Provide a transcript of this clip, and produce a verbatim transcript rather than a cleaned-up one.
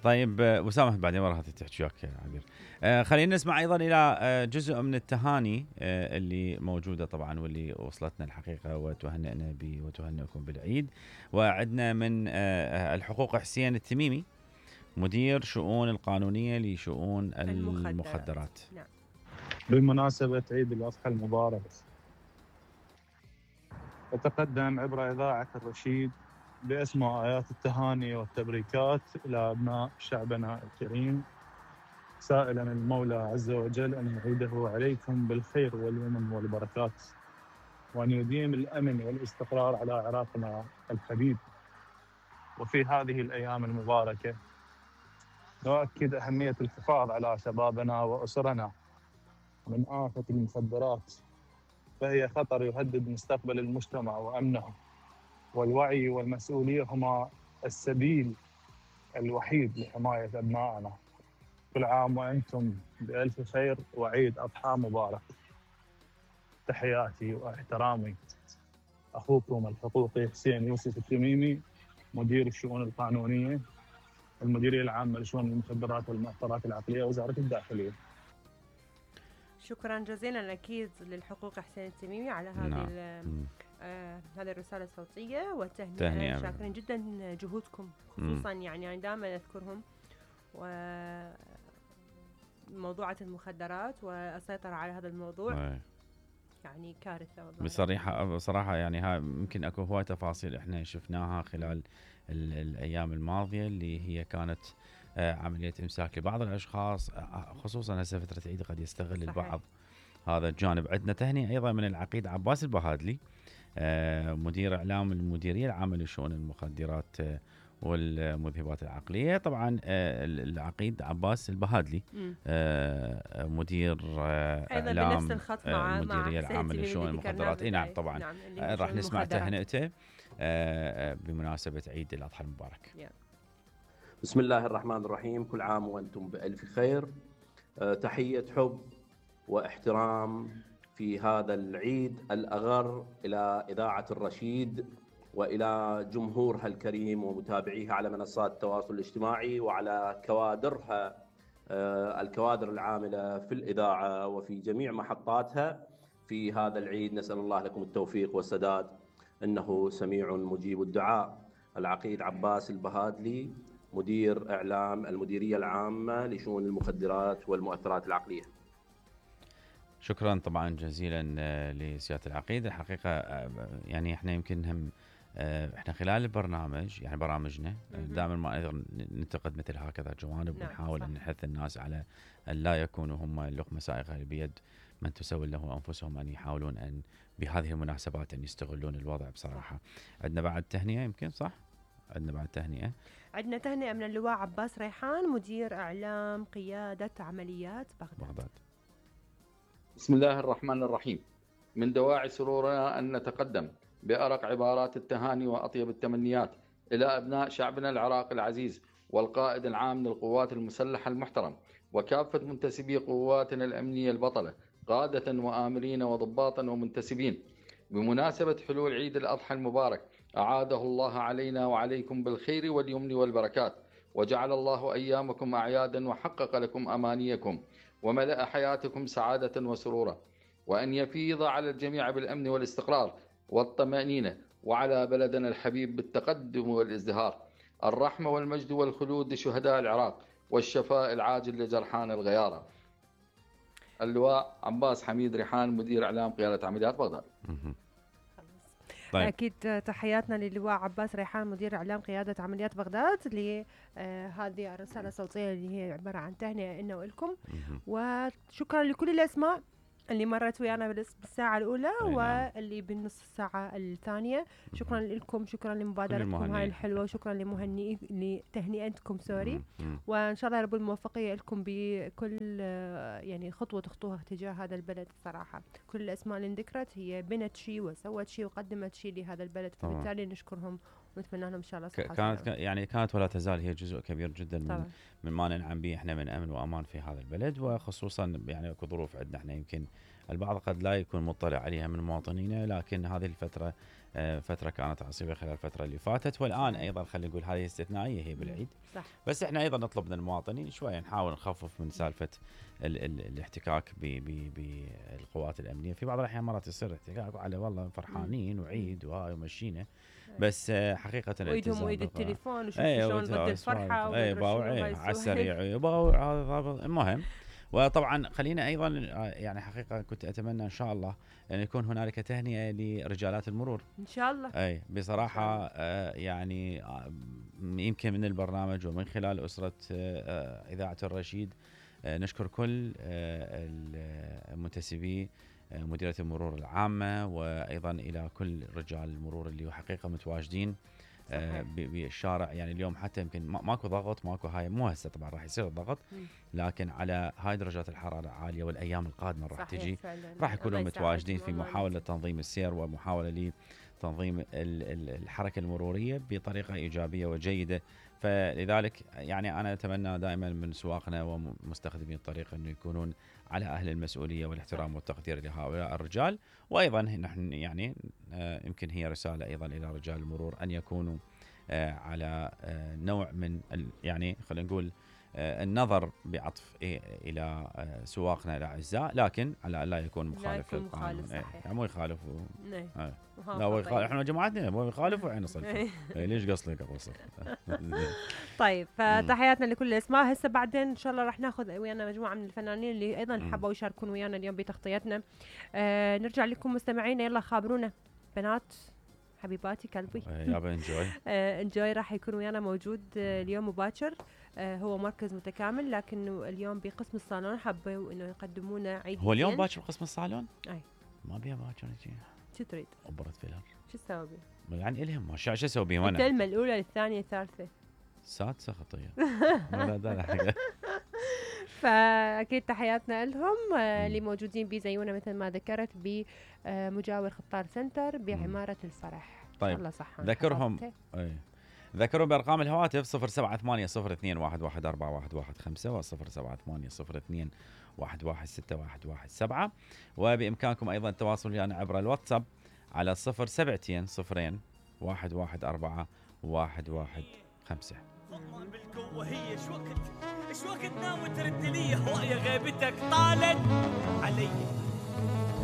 طيب وسامح بعدين ورا تحكي وياك عبير. آه خلينا نسمع ايضا الى آه جزء من التهاني آه اللي موجوده طبعا واللي وصلتنا الحقيقه وتهنئنا به وتهنئكم بالعيد. وعدنا من آه الحقوق حسين التميمي مدير شؤون القانونيه لشؤون المخدرات, المخدرات. نعم. بمناسبه عيد الاضحى المبارك أتقدم عبر إذاعة الرشيد بأسماء آيات التهاني والتبريكات إلى أبناء شعبنا الكريم، سائلا المولى عز وجل أن يعيده عليكم بالخير واليمن والبركات، وأن يديم الأمن والاستقرار على عراقنا الحبيب. وفي هذه الأيام المباركة نؤكد أهمية الحفاظ على شبابنا وأسرنا من آفة المخدرات، فهي خطر يهدد مستقبل المجتمع وأمنه، والوعي والمسؤولية هما السبيل الوحيد لحماية أبنائنا. كل عام وأنتم بألف خير وعيد أضحى مبارك. تحياتي واحترامي، أخوكم الحقوقي حسين يوسف التميمي، مدير الشؤون القانونية المديرية العامة لشؤون المخدرات والمؤثرات العقلية، وزارة الداخلية. شكرا جزيلا أكيد للحقوق حسين التميمي على هذه نعم. آه هذه الرسالة الصوتية والتهنئة. شاكرين جدا جهودكم، خصوصا مم. يعني أنا دائما أذكرهم وموضوعة المخدرات والسيطرة على هذا الموضوع أي. يعني كارثة والله. بصراحة بصراحة يعني ها ممكن أكو هواي تفاصيل إحنا شفناها خلال الأيام الماضية اللي هي كانت عملية إمساك لبعض الأشخاص، خصوصا هسه فترة عيد قد يستغل صحيح. البعض هذا الجانب. عندنا تهنئة أيضا من العقيد عباس البهادلي مدير إعلام المديرية العامة لشؤون المخدرات والمذهبات العقلية. طبعا العقيد عباس البهادلي مدير إعلام المديرية العامة لشؤون المخدرات. اي نعم طبعا نعم. راح نسمع تهنئته بمناسبة عيد الأضحى المبارك. yeah. بسم الله الرحمن الرحيم، كل عام وأنتم بألف خير. أه تحية حب واحترام في هذا العيد الأغر إلى إذاعة الرشيد وإلى جمهورها الكريم ومتابعيها على منصات التواصل الاجتماعي وعلى كوادرها أه الكوادر العاملة في الإذاعة وفي جميع محطاتها في هذا العيد. نسأل الله لكم التوفيق والسداد، إنه سميع مجيب الدعاء. العقيد عباس البهادلي مدير إعلام المديرية العامة لشؤون المخدرات والمؤثرات العقلية. شكرا طبعا جزيلا لسيادة العقيد. الحقيقة يعني احنا يمكن هم احنا خلال البرنامج يعني برامجنا دائما ما نقدر ننتقد مثل هكذا جوانب ونحاول ان نحث الناس على ان لا يكونوا هم اللقمة سائغة بيد من تسول له انفسهم، ان يحاولون ان بهذه المناسبات ان يستغلون الوضع بصراحة. عندنا بعد تهنئة يمكن صح؟ عندنا بعد تهنئة عندنا تهنئة من اللواء عباس ريحان مدير إعلام قيادة عمليات بغداد. بغداد. بسم الله الرحمن الرحيم. من دواعي سرورنا أن نتقدم بأرق عبارات التهاني وأطيب التمنيات إلى أبناء شعبنا العراقي العزيز والقائد العام للقوات المسلحة المحترم وكافة منتسبي قواتنا الأمنية البطلة، قادة وآمرين وضباطا ومنتسبين، بمناسبة حلول عيد الأضحى المبارك. أعاده الله علينا وعليكم بالخير واليمن والبركات، وجعل الله أيامكم أعيادا وحقق لكم أمانيكم وملأ حياتكم سعادة وسرورا، وأن يفيض على الجميع بالأمن والاستقرار والطمأنينة، وعلى بلدنا الحبيب بالتقدم والازدهار. الرحمة والمجد والخلود لشهداء العراق والشفاء العاجل لجرحان الغيارة. اللواء عباس حميد ريحان مدير إعلام قيادة عمليات بغداد. طيب. أكيد تحياتنا للواء عباس ريحان مدير إعلام قيادة عمليات بغداد لهذه الرسالة الصوتية اللي هي عبارة عن تهنئة إنه ولكم، وشكرا لكل الأسماء اللي مرت ويانا بالساعة الأولى واللي بالنص الساعة الثانية. شكرا لكم، شكرا لمبادرتكم هاي الحلوة، وشكرا لمهنئ لتهنئتكم سوري، وإن شاء الله رب الموفقية لكم بكل يعني خطوة تخطوها تجاه هذا البلد. صراحة كل الأسماء اللي انذكرت هي بنت شيء وسوت شيء وقدمت شيء لهذا البلد، فبالتالي نشكرهم ونتمنى لهم إن شاء الله صحة. كانت يعني كانت ولا تزال هي جزء كبير جدا من, من ما ننعم به احنا من أمن وأمان في هذا البلد، وخصوصا يعني اكو ظروف عندنا احنا يمكن البعض قد لا يكون مطلع عليها من مواطنينا، لكن هذه الفترة فتره كانت عصيبه خلال الفتره اللي فاتت، والان ايضا خلينا نقول هذه استثنائيه هي بالعيد. صح. بس احنا ايضا نطلب من المواطنين شويه نحاول نخفف من سالفه ال ال الاحتكاك بالقوات الامنيه. في بعض الاحيان مرات يصير احتكاك على والله فرحانين وعيد وهاي ومشينا، بس حقيقه وايدهم وايد التليفون وشوف ايه شلون ضد الفرحه اي باوع على السريع باوع. المهم وطبعا خلينا ايضا يعني حقيقه كنت اتمنى ان شاء الله ان يكون هنالك تهنئه لرجالات المرور ان شاء الله. اي بصراحه آه يعني آه يمكن من البرنامج ومن خلال اسره آه اذاعه الرشيد آه نشكر كل آه المنتسبي آه مديريه المرور العامه، وايضا الى كل رجال المرور اللي حقيقه متواجدين آه بالشارع. يعني اليوم حتى يمكن ماكو ضغط ماكو هاي، مو هسه طبعا راح يصير الضغط، لكن على هاي درجات الحراره العاليه والايام القادمه راح تجي راح يكونوا متواجدين في محاوله تنظيم السير ومحاوله لتنظيم الحركه المروريه بطريقه ايجابيه وجيده. فلذلك يعني انا اتمنى دائما من سواقنا ومستخدمي الطريق انه يكونون على اهل المسؤوليه والاحترام والتقدير لهؤلاء الرجال. وايضا نحن يعني آه يمكن هي رساله ايضا الى رجال المرور ان يكونوا آه على آه نوع من يعني خلينا نقول آه النظر بعطف إيه الى آه سواقنا الاعزاء، لكن على لا يكون مخالف للقانون. يعني مو يخالفوا آه. لا هو يخالف، احنا جماعتنا مو يخالفوا وعين صلفه. ليش قصدك اقصر؟ طيب فتحياتنا لكل الاسماء. هسه بعدين ان شاء الله راح ناخذ ويانا مجموعه من الفنانين اللي ايضا حبوا يشاركون ويانا اليوم بتغطيتنا. آه نرجع لكم مستمعينا، يلا خابرونا بنات حبيباتي كلبي. يابا انجوي. آه انجوي راح يكون ويانا موجود آه اليوم مباشر. آه هو مركز متكامل، لكنه اليوم بقسم الصالون حبوا انه يقدموا لنا عيد. هو اليوم باكر بقسم الصالون؟ اي ما بيها باكر يجي. شو تريد؟ أبرد فيلر. شو تسوي بيه؟ يعني إلهم ما شو أسوي بيه أنا؟ الكلمة الأولى الثانية الثالثة. سادسة خطية. لا لا لا. فأكيد تحياتنا لهم اللي موجودين بزيونا مثل ما ذكرت بمجاور خطار سنتر بعمارة الفرح. طيب. الله صح. ذكرهم. أي. ذكروا بأرقام الهواتف صفر سبعة ثمانية صفر اثنين واحد واحد أربعة واحد واحد خمسة وصفر سبعة ثمانية صفر اثنين واحد واحد ستة واحد واحد سبعة، وبإمكانكم أيضا التواصل ويانا عبر الواتساب على صفر سبعتين صفرين واحد واحد أربعة واحد واحد خمسة. والله بالقوة هي شو وقت شو وقت ناوي ترد لي هواية غيبتك طالت علي.